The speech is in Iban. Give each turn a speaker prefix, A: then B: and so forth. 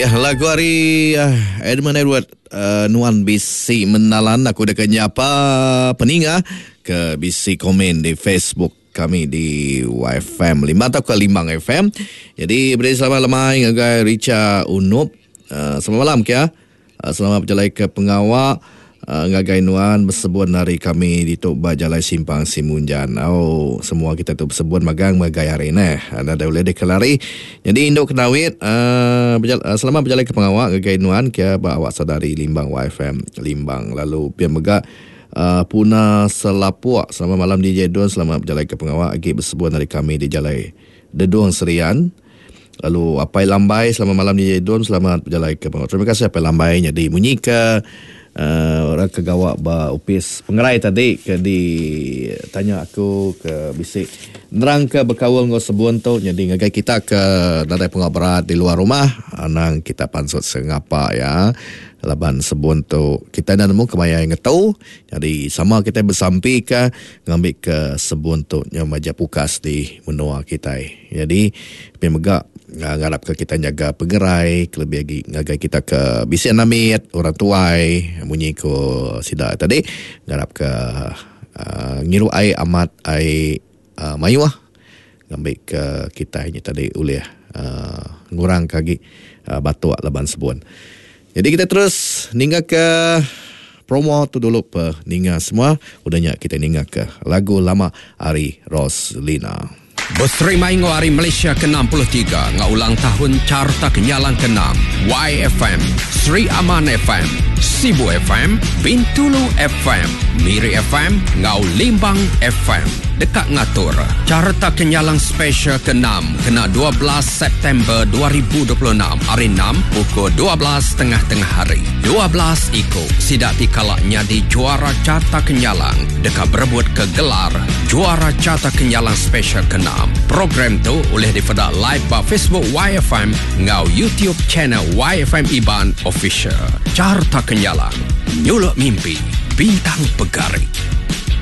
A: Lagu ari Edmund Edward Nuan Bisi Menalan aku deka nyapa peninga ke bisi komen di Facebook kami di YFM Limbang tauka Limbang FM. Jadi beri selamat lemai ngagai Richa Unup. Selamat malam kia. Selamat bejalai ke pengawa ngagai nuan besebun ari kami ditu ba Jalai Simpang Simunjan. Au semua kita tu besebun magang megai hari neh. Nadai ulih dikelari. Nyadi indu Kenawit selamat bejalai ke pengawa ngagai nuan ke ba awak saudari Limbang YFM Limbang lalu pia mega Puna Selapuk. Selamat malam DJ Dun selamat bejalai ke pengawa agi besebun ari kami di Jalai Dedung Serian. Lalu Apai Lambai selamat malam DJ Dun selamat bejalai ke pengawa. Terima kasih Apai Lambai nyadi munyi ke uh, orang ke gawa ba opis pengerai tadi ke di tanya aku ke bisi nerang ke bekaul enggau sebun tu nyadi ngagai kita ke nadai pengawa berat di luar rumah anang kita pansut sengapa ya laban sebun tu kita enda nemu kemaya ngetu nyadi sama kita besampi ke ngambi ke sebun tu nyau majak pukas di menua kitai. Nyadi, pia mega ngarapka kitai nyaga pengerai kelebih agi ngagai kita ke bisi anak mit, orang tuai munyi ku sida tadi ngarapka uhh ngiru ai amat ai uhh mayuh ngambika kitai nya tadi ulih uhh ngurangka agi batuk laban sebun. Nyadi kitai terus ningaka promo tu dulu pe ninga semua udah nya kitai ningaka lagu lama ari Roslina.
B: Beserimai enggau Hari Malaysia ke 63 enggau ulang tahun Carta Kenyalang ke enam, YFM, Sri Aman FM, Sibu FM, Bintulu FM, Miri FM enggau Limbang FM deka ngatur Carta Kenyalang Special ke enam kena 12 September 2026 hari enam pukul 12 tengah-tengah hari. 12 iku sida ti kala nyadi juara Carta Kenyalang deka berebut ke gelar Juara Carta Kenyalang Special Keenam. Program tu ulih dipeda live ba Facebook YFM enggau YouTube channel YFM Iban Official. Carta Kenyalang, nyuluk mimpi, bintang pegari.